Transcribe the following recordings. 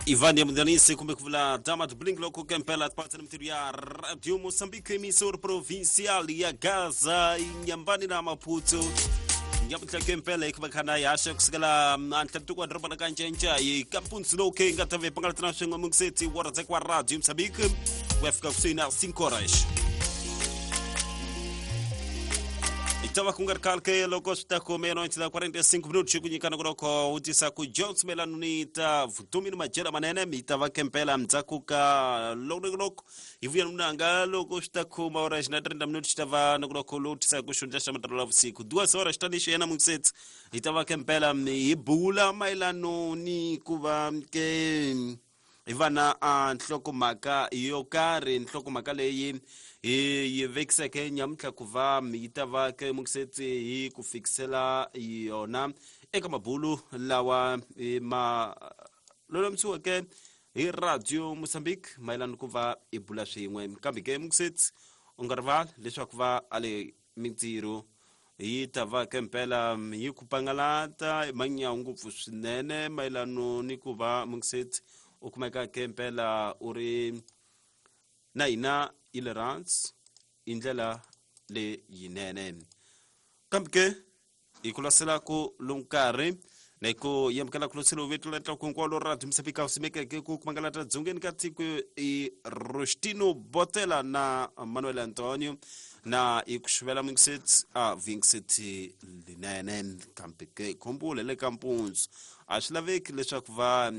Ivan Yamudanise kumbe ku vula Damat Blink loko kempela tipatsa na mintirho ya Radio Mozambique emissora provincial ya Gaza Inhambane na Maputo nyamuntlha kempela hi khana ya haxa kusukela antlantiko wa doroba la kancenca hi kampunzi lowu ke nga ta ve pangalatana swin'we mungiseti wa radzeka wa Radio Mozambique ku ya fika kusuhi na 5 horas hi ta va ku nga ri khale ke loko swi ta ku meia-noite da 45 minutos ku nyikana ku loko wu tisa ku jones mayelano ni ta vutomi ni madyelo manene mi ta va kempela ndzhaku ka loko hi vuya munanga loko swi ta khoma ora xi na 30 minutos xi ta va na ku loko lowu tisaka ku xundla xa matirhelo ya vusiku duas horas xi ta ni xi yena mungisetsi hi ta va kempela hi bula mayelano ni ku va ke hi va na a nhlokomhaka yo karhi nhlokomhaka leyi hi yi vekiseke nyamuntlha ku va yi ta va ke mungisetsi hi ku fikisela yona eka mabulu lawa ma lulamisiweke hi Radio Mozambique mayelana ku va hi bula swin'we kambe ke mungisetsi u nga rivali leswaku va ale mintirho yi ta va ke mpela yi ku pangalata manyawu ngopfu swinene mayelano ni ku va mungisetsi u kumeka ke mpela u ri na hina yi le hansi hi ndlela leyinene kambe ke hi ku lasela ku lowu nkarhi na hi ku yamukela ku loselo vetu la tlaku hinkwalo ra Mozambique simekeke ku kumangalata dzongeni ka tiko i Rostino Botela na Manuel Antonio na hi ku xuvela mingiseti a vingiseti linene kambe ke khumbule le ka mpundzu a swi laveki leswaku va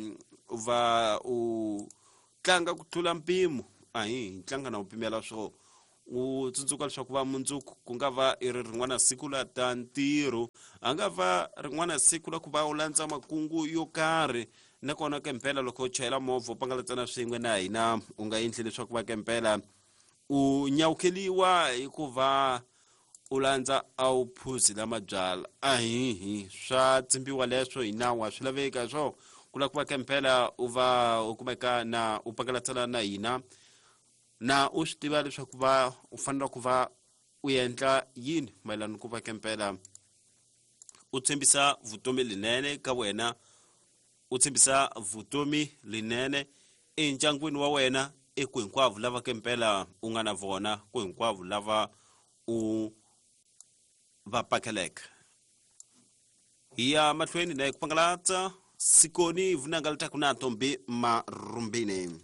va u tlanga ku tlula mpimo a hi tlanga na u pimela swo u tsundzuka leswaku va mundzuku ku nga va i ri rin'wana siku la ta ntirho a nga va rin'wana siku la ku va u landza makungu yo karhi nakona ke mpela loko u chayela movha u pangalatsana swin'we na hina u nga endli leswaku va ke mpela u nyawukeliwa hikuva u landza a wu phuzi la mabyala ahihi swa tsimbiwa leswo hi nawu a swi laveki swo ku lava ku va ke mpela u va u kumeka na u pangalatsana na hina na u swi tiva leswaku va u fanele ku va u endla yini mayelana ku va kempela u tshembisa vutomi linene ka wena u tshembisa vutomi linene endyangwini wa wena eku hinkwavo lava kempela u nga na vona ku hinkwavo lava u va pakeleke hi ya mahlweni na hi ku pangalatsa sikoni vunanga litaku na ntombi marumbini.